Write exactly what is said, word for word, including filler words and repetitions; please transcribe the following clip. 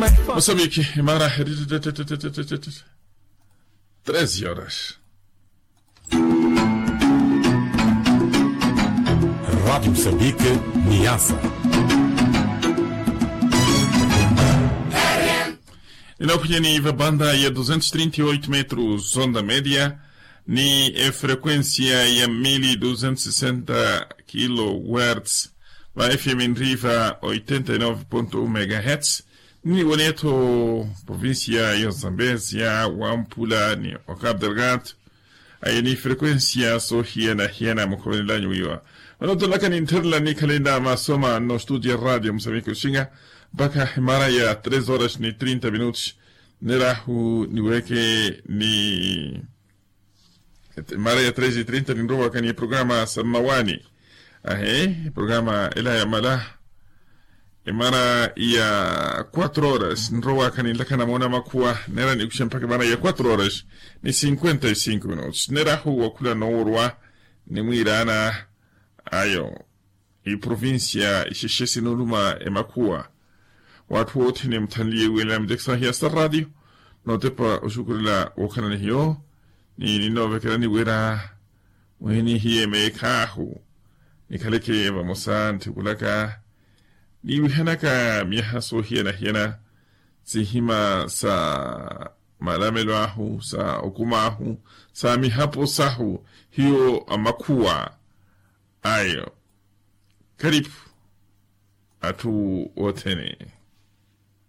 Moçambique, mara. Treze horas. Rádio Moçambique, Niassa. Inaphunyeni vabanda ya duzentos trinta e oito metros, onda média, ni efrequência ya mil duzentos sessenta kilohertz, va F M nriva oitenta e nove ponto um megahertz, ni wanetho provincia ya Zambezia, Wampula ni Wakapu Delgado. Aye ni frequência sohiyana-hiyana mukhomelanyu wiwa. Vano tolaka nintherela nikhalenda masoma no studio ya radio musamiki oxinga, mpakha emara ya três horas ni trinta minutos. Nerahu niweke ni emara ya três e trinta ninrowaka ni programa sa mmawani. Ahe, programa ela ya mala. Emara ya quatro horas nrowaka ninlakha namona makhuwa, nera nikuxe mpakha emara ya quatro horas ni cinquenta e cinco minutos. Nerahu wakhula noworwa nimwirana ayo iprovincia ixexe sinuluma emakhuwa. Watthu wothene muthanliye wila mujekisa hiya sa radio notepa oxukurela wokhalani hiyo. Ni ninoovekela niwira mwini hiye meekhahu nikhaleke vamosa nthikulaka niwihanaka miyaha soohiyana-hiyana, sihima sa malamelo ahu, sa okuma ahu, sa mihapo sahu, hiyo amakhuwa ayo karipu atthu othene.